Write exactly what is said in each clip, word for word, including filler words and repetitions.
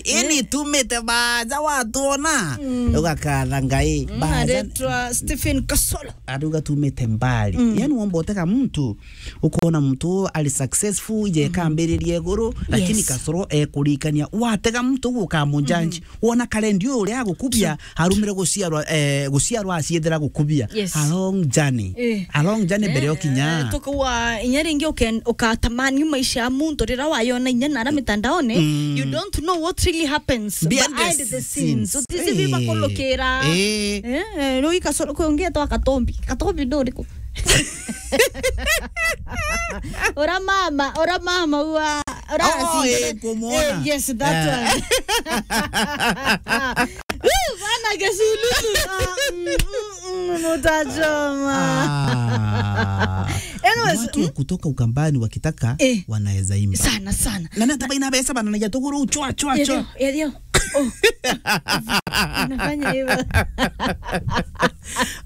Eni tumite baja watuona. Mm. Ugakatha Ngai. Mm, baja aretwa Stephen Kasolo. Ari ugatumite mbali. Mm. Yani womba utega muntu, ukona muntu ari successful, ije kambiririe iguru, lakini Kasolo ekurikania. Watega muntu guka mujanji. Wona karendi uyu uria agukubia, arumire guciarwa, eh, guciarwa aciethera gukubia. Yes. A long journey. Eh. A long journey mbere ukinya. Eh, tukawa inya ringi uken-, ukatamani maisha ya muntu rira wayona inya nara mitandaone, you don't know what really happens behind the scenes. Utisi biba kulukira. Eh. Eh, eh, riu i Kasolo kwi ungi etwa Katombi. Katombi ndo uriku? Ora mama, ora mama ua, ora Oh, eh, kumwona. Eh, yes, that one. Woo, bana Gesululu. Ah, mm, mm, mm, mutajoma. Ah. Anyways, watu wa kutoka Ukambani wakitaka, eh, wanaweza imba. Sana, sana. Na nata baina besa bana na jatuguru chwa, chwa, chwa. Edio, edio. Oh. Unafanya hivyo.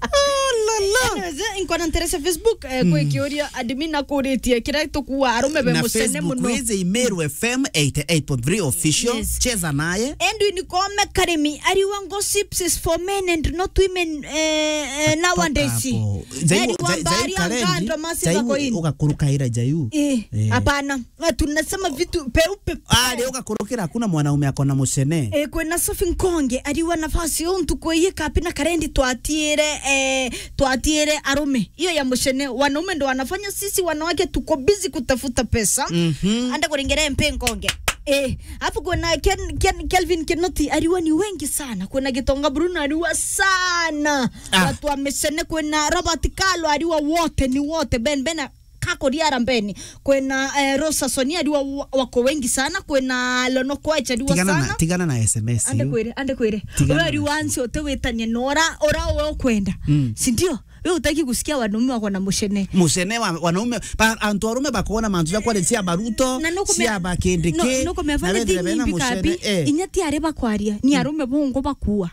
Oh, la, la. Anyways, eh, nkona nterese Facebook, eh, kwi kiuria admin akuritie kira tukua arume be mucene muno. Na Facebook kweze Meru F M eighty-eight point three official. Yes. Cheza naye. Edwin Kome Karimi, ariwa gossips is for men and not women, eh, eh, nowadays. Toka hapo. Jaiu, ariwa jai-, mbari jaiu karendi, angando masiva jaiu koini. Ugakurukaira jaiu. Eh, eh, hapana. Na tunasema vitu peupe. Ah, leo ugakurukira, hakuna mwanaume akona mucene. Eh, kwina Sophie Nkonge, ariwa nafasi yo ntuku iyi kapi na karendi twatiire, eh, twatiire arume. Hiyo ya mucene, wanaume ndo wanafanya, sisi wanawake tuko busy kutafuta pesa. Mhm. Anda kuringere mpe Nkonge. Eh, afu kuna Ken, Ken, Kelvin Kinoti, ariwa ni wengi sana. Kuna Gitonga Bruno, ariwa sana. Ah. Watu wa micene, kuna Robert Kalo, ariwa wote, ni wote. Ben, Ben, Kakuriara mbeni. Kwina, eh, Rosa Sonia ariwa wa-, wako wengi sana. Kwina Lono Koech ariwa sana. Tigana na, tigana na S M S ande hiyo. Kwire, ande kwire. Tigana na S M S. Uwe ariwa ansi uti witanie na ura, ura uwe ukwenda. Mm. Si ndio? We utaki kusikia wanaume wako na mucene. Mucene wa, wanaume, ba, antu arume bakona mantu ja kwari cia baruto, na nukume-, cia bakindiki, nu-, nukumefanya na wethire thing bena imbi mucene, kabi, eh. Inya ti ari bakwaria, ni arume bongo bakua.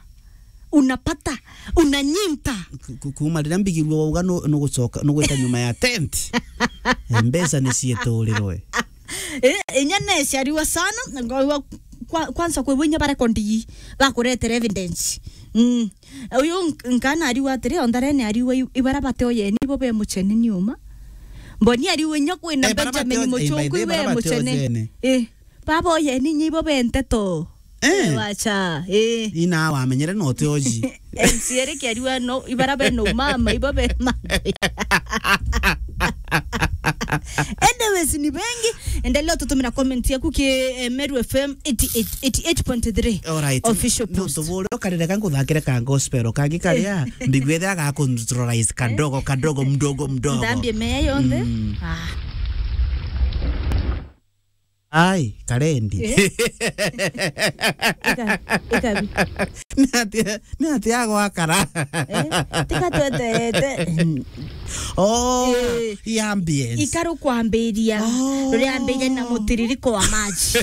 Unapata, unanyinta. Ku-, ku-, kuma riria mbigirwe wauga nu-, nugucoka, nugwita nyuma ya tent. Eh, mbeca ni cieturirwe. Eh, inya neciariwa sana, ngwa-, kwa-, kwanza kwi inya barekondi bakuretera evidence. Mm. Uyu nk-, nkana ariwa atiri, ontharene ariwa i-, ibara bate oyeni bo be mucene ni uma. Mboni ariwa inya kwina eh, bara bate Benjamin oy-, eh, by the way, Muchungu bara iwe bate mucene. Oyeni. Eh. Baba oyeni nyi ibo be nteto. Eh. Eh, wacha, eh. Ina wamenyere no te oji. M C A ri kiariwa no, ibara be no mama, ibo be ma. Anyways, ni bengi, endelea tutumira comment yaku ki, eh, Meru F M eighty-eight, eighty-eight point three. All right. Official post. No tubure ukarire ka nguthakire ka gospel kangi karia, eh, mbigwethera ga controlize kadogo, kadogo, mdogo, mdogo. Ndambie meya yonthe. Mm. Ah. Ai, karendi. Eh? Ika-, ikabi. Ni atia, ni atia agwakara? Eh? Tika tweterete. Oh, eh, i ambience. Ikaru kwambiria. Oh. Ruriambiria na mutiririko wa maji.